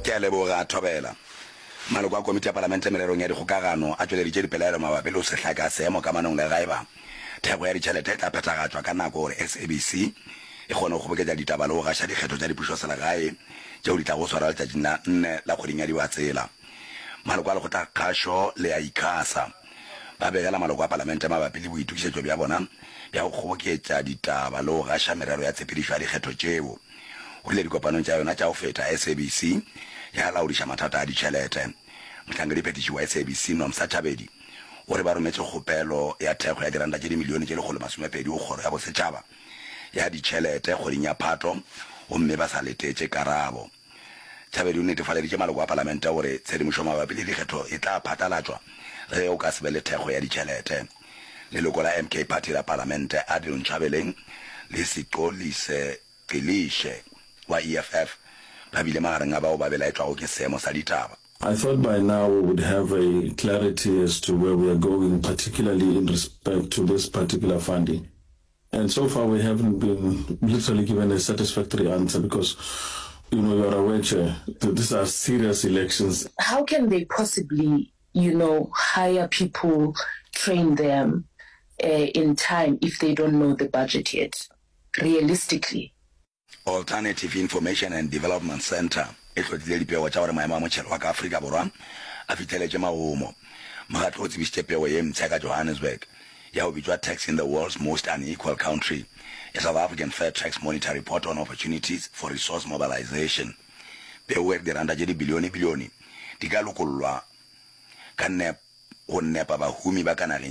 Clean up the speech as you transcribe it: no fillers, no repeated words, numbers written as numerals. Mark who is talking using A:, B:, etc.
A: Ke a leboga, Thobela. Maloko a Komiti ya Palamente Mererong ya Dikgokagano a tšweleditše dipelaelo mabapi le go se hlake ga seemo kamanong le gaeba thekgo ya ditšhelete e tla phethagatšwa ka nako gore SABC e kgone go kgoboketša ditaba le go gaša dikgetho tša dipušoselegae tšeo di tlago swarwa letšatšing la nne la kgweding ya Dibatsela. Maloko a Lekgotlakgašo le a ICASA ba begela maloko a Palamente mabapi le boitokišetšo bja bona bja go kgoboketša ditaba le go gaša merero ya tshepedišo ya dikgetho tšeo. O rile dikopanong tša yona tša go feta, SABC ya laodiša mathata a ditšhelete. Mohlankediphethiši wa SABC, Nomsa Thabedi, o re ba rometše kgopelo ya thekgo ya diranta tše dimilione tše 120 go Kgoro ya Bosetšhaba ya Ditšhelete kgweding ya Phato gomme ba sa letetše karabo. Thabedi o netefaleditše maloko a palamente gore tshedimošo mabapi le dikgetho e tla phatlalatšwa ge go ka se be le thekgo ya ditšhelete. Leloko la MK Party la palamente Adil Nchabeleng le Sixolise Gcilishe wa EFF ba bile magareng a bao ba belaetšwago ke seemo sa ditaba.
B: I thought by now we would have a clarity as to where we are going, particularly in respect to this particular funding. And so far we haven't been literally given a satisfactory answer because, you know, you are aware, Chair, that these are serious elections.
C: How can they possibly, you know, hire people, train them in time if they don't know the budget yet, realistically?
A: Alternative Information and Development Centre e hlotlile dipego tša gore maemo a motšhelo wa ka Afrika Borwa a fihleletše magomo. Mokgatlo o tsebišitše pego ye mpsha ka Johannesburg ya go bitšwa Tax in the World's Most Unequal Country, A South African Fair Tax Monitor Report on Opportunities for Resource Mobilisation. Pego e re diranta tše dibilione-bilione di ka lokollwa ka go nepa bahumi ba ka nageng.